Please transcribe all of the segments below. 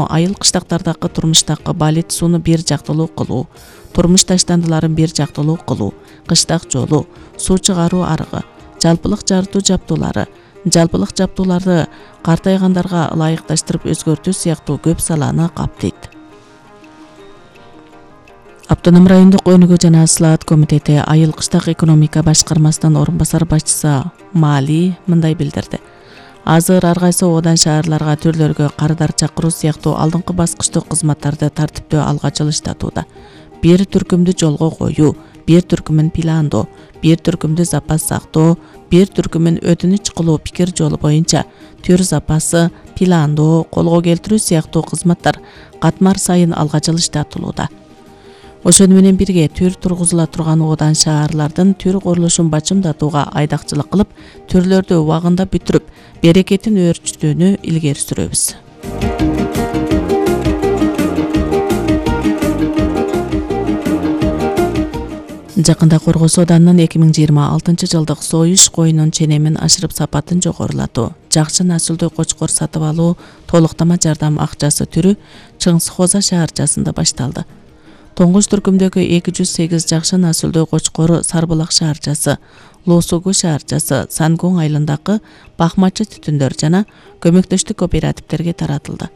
Айыл кыштактардагы турмуштагы балет сууну бир жактылуу кылуу, турмуш таштандыларын бир жактылуу кылуу, кыштак жолу, суу чыгаруу арыгы, жалпылык жарытуу жабдуулары, жалпылык жабдууларды картайгандарга ылайыкташтырып өзгөртүү сыяктуу көп саланы каптайт. Автоном райондук өнүгүү жана слаат комитети айыл кыштак экономика башкармасынын орун басар башчысы Маали мындай билдирди. Азыр ар кайсы оодан шаарларга түрлөргө кардар чакыруу сыяктуу алдыңкы баскычтык кызматтарды тартиптүү алга жылыштатууда. Бир түркүмдү жолго коюу, бир түркүмүн пландоо, бир түркүмдү запас сактоо, бир түркүмүн өтүнүч кылуу пикир жолу боюнча түр запасы, пландоо, колго келтирүү сыяктуу кызматтар катмар сайын алга жылыштатылууда. Ошону менен бирге түр тургузула турган оодан шаарлардын түр курулушун бачымдатууга айдакчылык кылып, түрлөрдү убагында бүтүрүп, берекетин өөрчүтүүнү илгери сүрөбүз. Жакында Коргос Оданынын 2026 жылдык союш коюнун ченемин ашырып сапатын жогорулатуу, жакшы насылдуу кочкор сатып алуу толуктама жардам акчасы түрү Чыңгыз Хоза шаарчасында башталды. Тоңгуш түркүмдөгү 208 жакшы насылдуу кочкору Сарбулак шаарчасы, Лоосугу шаарчасы, Сангун айылындагы бакмачы түтүндөр жана көмөктөштүк кооперативтерге таратылды.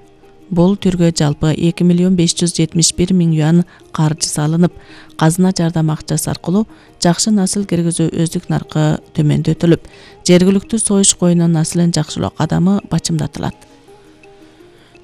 Бул түргө жалпы 2 миллион 571 миң юан каржы салынып, казына жардам акчасы аркылуу жакшы насыл киргизүү өздүк наркы төмөндөтүлүп, жергиликтүү союш коюнунун насылын жакшылоо кадамы бачымдатылат.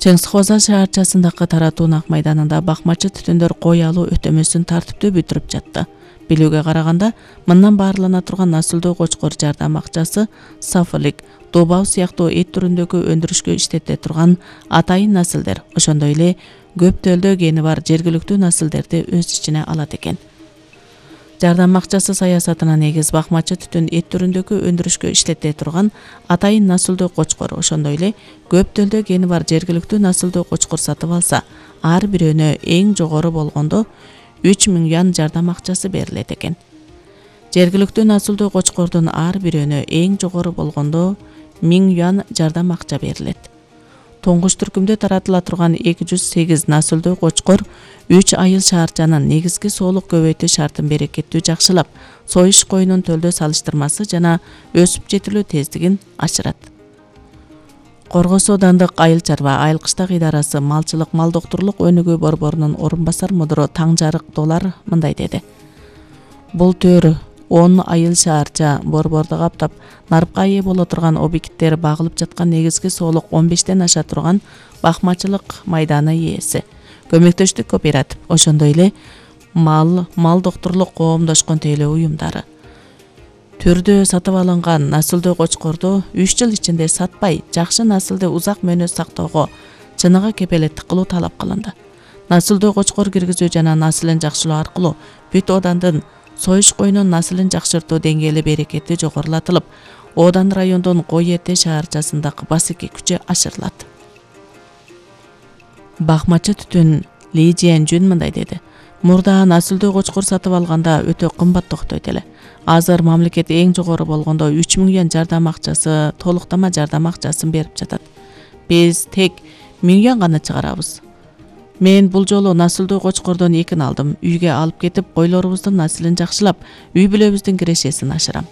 Чыңгыз Хоза шаарчасындагы таратуу ак майданында бакмачы түтүндөр кой алуу өтөмөсүн тартиптүү бүтүрүп жатты. Билүүгө караганда, мындан баарлана турган насылдуу кочкор жардам акчасы сафылик, добау сыяктуу эт түрүндөгү өндүрүшкө иштете турган атайын насылдер, ошондой эле көп төлдө гени бар жергиликтүү насылдерди өз ичине алат экен. Жардам акчасы саясатына негиз бакмачы түтүн эт түрүндөгү өндүрүшкө иштете турган атайын насылдуу кочкор, ошондой эле көп төлдө гени бар жергиликтүү насылдуу кочкор сатып алса, ар бирөөнө эң жогору болгондо 3 миң юан жардам акчасы берилет экен. Жергиликтүү насылдуу кочкордун ар бирөөнө эң жогору болгондо 1000 юан жардам акча берилет. Тоңгуш түркүмдө таратыла турган 208 насылдуу кочкор 3 айыл шаарчанын негизги соолук көбөйтүү шартын берекеттүү жакшылап, союш коюнун төлдө салыштырмасы жана өсүп жетилүү тездигин ашырат. Коргос Оодандык айыл чарба айыл кыштак идарасы малчылык мал доктурлук өнүгүү борборунун орун басар мудуру Таңжарык Долар мындай деди. Бул төр 10 айыл шаарча борборду каптап, нарыпка ээ боло турган объекттер багылып жаткан негизги соолук 15тен аша турган бакмачылык майданы ээси, көмөктөштүк кооператив, ошондой эле мал доктурлук коомдошкон тейлөө уюмдары. Түрдө сатып алынган насылдуу кочкорду 3 жыл ичинде сатпай, жакшы насылды узак мөөнөт сактоого чыныгы кепелеттик кылуу талап кылынды. Насылдуу кочкор киргизүү жана насылын жакшылоо аркылуу бүт оодандын союш коюнун насылын жакшыртуу деңгээли берекети жогорулатылып, Оодан райондун Кой Эте шаарчасындагы басеки күчү ашырылат. Бакмачы түтүн Ли Жиен Жүн мындай деди. Мурда насылдуу кочкор сатып алганда өтө кымбат окуйт эле. Азыр мамлекет эң жогору болгондо 3 миң юан жардам акчасы, толуктама жардам акчасын берип жатат. Биз тек 1000 юан гана чыгарабыз. Мен бул жолу насылдуу кочкордон 2 алдым. Үйгө алып кетип, койлорубуздун насылын жакшылап, үй бүлөбүздүн кирешесин ашырам.